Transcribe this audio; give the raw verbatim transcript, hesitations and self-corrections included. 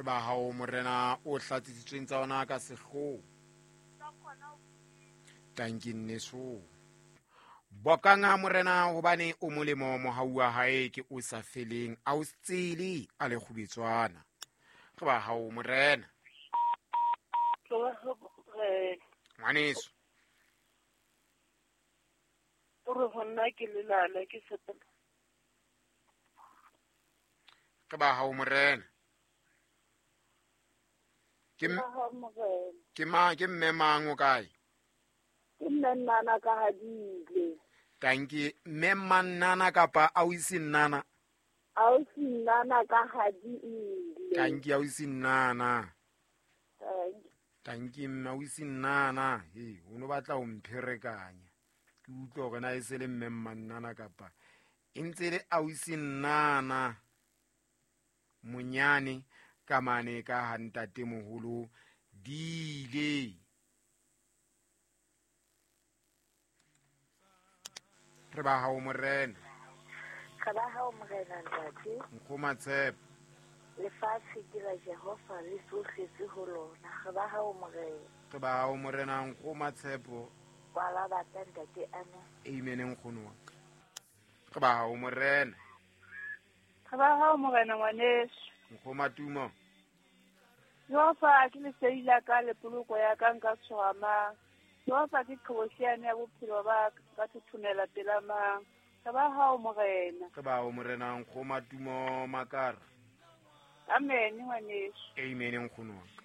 Re ba hao morena o hlatsitsweng tsa ona ka sehloho. Tanki nneso. Bokanga morena hobane o molemo mohau wa hae ke o sa feleng a o tsele a le kgubetswana. Re ba hao morena. Ngwaneso. O re ho nna ke lelala ke sepela. Re ba hao morena. Ke ke ma ke mme mang o kae? Ke mme Nnana ka hadile. Tanki mme Mannana kapa ausi Nnana? Ausi Nnana ka hadile. Tanki ausi Nnana. Tanki. Tanki mme ausi Nnana. He, o no batla ho mpherekanya. Ke utlwa hore na e se le mme Mannana kapa e ntse le ausi Nnana. Monyane ka mane ka ha ntate moholo dile. Re ba hao morena. Re ba hao morena ntate. Nkgoma tshepo. Lefatshe ke la Jehova le tsohle tse ho lona. Re ba hao morena. Re ba hao morena nkgoma tshepo. Wa la batla ntate amen. Amen nkgono wa ka. Re ba hao morena. Re ba hao morena ngwaneso. Nkgoma tumo. Jehova ke lesedi la ka le poloko ya ka nka tshoha mang. Jehova ke qhobosheane ya bophelo ba ka thothomela pela mang. Re ba hao morena. Re ba hao morena nkgoma tumo makara. Amen ngwaneso. Amen nkgono wa ka.